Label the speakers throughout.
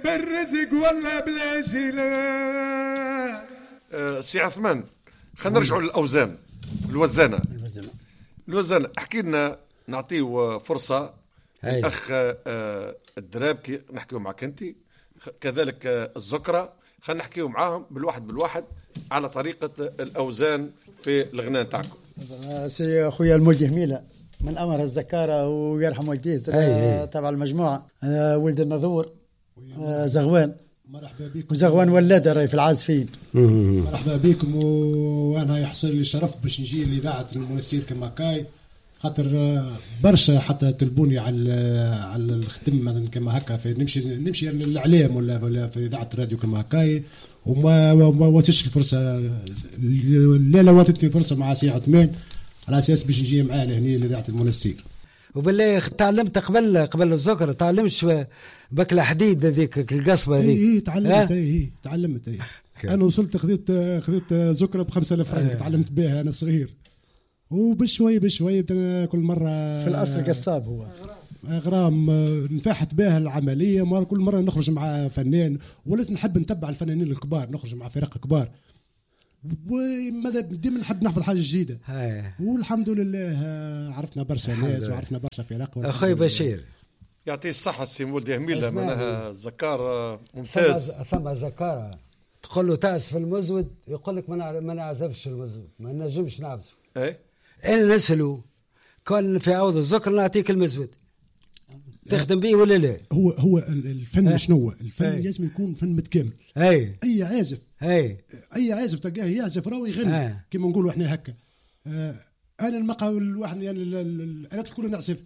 Speaker 1: بالرزق ولا بلا جلا.
Speaker 2: سي عثمان، خلينا نرجعوا للاوزان. الوزانه الوزانه، احكي لنا، نعطيه فرصة الاخ الدرابكي نحكيو معك انت، كذلك الزكرة، خلينا نحكيو معاهم بالواحد بالواحد على طريقه الاوزان في الغناء تاعكم.
Speaker 3: سي خويا المولدي هميله من امر الزكاره ويرحم والديه تبع المجموعة، ولد النذور زغوان.
Speaker 4: مرحبا بكم.
Speaker 3: وزغوان ولاده راهي في العازفين.
Speaker 4: مرحبا بكم، وانا يحصل لي الشرف باش نجي لاذاعة المنستير كما كاي، خاطر برشا حتى تلبوني على الخدمة مثلا كما هكا، في نمشي للاعلام ولا في اذاعة الراديو كما هكاي، وما واتش الفرصة. لا واتتني فرصة مع سي عثمان على اساس باش نجي معاه لهني لاذاعة المنستير.
Speaker 5: وبالله تعلمت قبل الزكرة، تعلمش بك الحديد هذيك القصبة هذيك؟
Speaker 4: اي تعلمت. اي تعلمت. اي انا وصلت خذيت زكرة ب 5000 فرنك، تعلمت بها انا صغير، وبشوي بشوي كل مرة.
Speaker 3: في الأصل قصاب هو
Speaker 4: غرام، نفاحت بها العملية. مرة كل مرة نخرج مع فنان، وليت نحب نتبع الفنانين الكبار، نخرج مع فرق كبار، وماذا ديما نحب نحفظ حاجة جديدة. والحمد لله عرفنا برشا ناس وعرفنا برشا فرق.
Speaker 5: أخوي بشير
Speaker 2: يعطيه الصحة السي مولدي هميلة، معناها زكار ممتاز.
Speaker 5: ثم زكارة تقول له تعزف المزود، يقول لك ما نعزفش المزود، ما نجمش نعزف.
Speaker 2: ايه
Speaker 5: انا نسأله كان في عوض الذكر نعطيك المزود تخدم به ولا لا؟
Speaker 4: هو الفن شنو؟ الفن لازم يكون فن متكامل. اي عازف، اي عازف تلقاه يعزف راهو يغني كما نقولوا احنا هكا. انا المقاول الواحد يعني الالات الكل نعزف،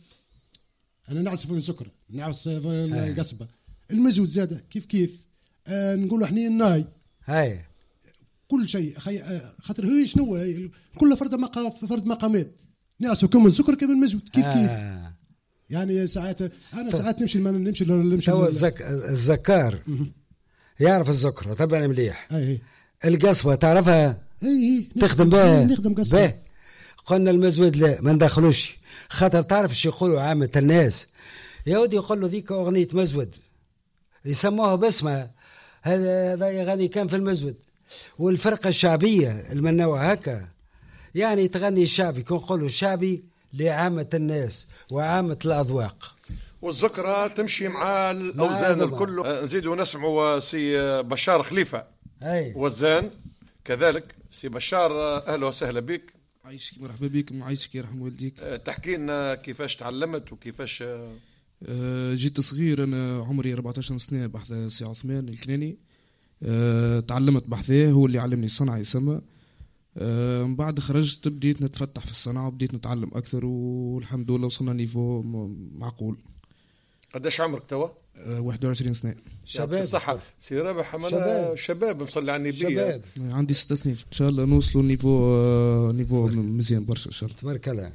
Speaker 4: انا نعزف الزكر، نعزف القصبة، المزود زاده كيف كيف، نقولوا احنا الناي، كل شيء. خاطر هو شنو كل فرد مقام، فرد مقامات، نعسو كم السكر كم المزود كيف كيف. يعني ساعات انا ساعات نمشي نمشي نمشي.
Speaker 5: تو الزكار يعرف الزكرة طبعا مليح. القصبة تعرفها؟
Speaker 4: اي
Speaker 5: تخدم بها؟
Speaker 4: نخدم قصبة.
Speaker 5: قلنا المزود لا ما ندخلوش، خاطر تعرف شو يقولوا عامة الناس، يا ودي يقولوا ذيك اغنية مزود يسموها باسمها، هذا يغني كان في المزود. والفرقة الشعبية المنوع هكا يعني تغني الشعبي، كون نقولوا الشعبي لعامة الناس وعامة الأذواق.
Speaker 2: والذكرى تمشي مع الأوزان الكل. نزيدوا نسمعوا سي بشار خليفة وزان كذلك. سي بشار أهلا وسهلا بك.
Speaker 6: عايشك، مرحبا بك. عايشك يرحم والديك.
Speaker 2: تحكي لنا كيفاش تعلمت وكيفاش؟
Speaker 6: جيت صغير أنا، عمري 14 سنة، بحث سي عثمان الكناني. تعلمت بحثه، هو اللي علمني الصنعة يسمى. من بعد خرجت بديت نتفتح في الصنعة وبديت نتعلم أكثر، والحمد لله وصلنا niveau معقول.
Speaker 2: قداش عمرك توا؟
Speaker 6: 21 سنة.
Speaker 2: شباب الصحة سي رابح، أنا شباب مصلي على النبي.
Speaker 6: عندي 6 سنين، إن شاء الله نوصلوا niveau مزيان برشا إن شاء الله.
Speaker 5: تبارك الله.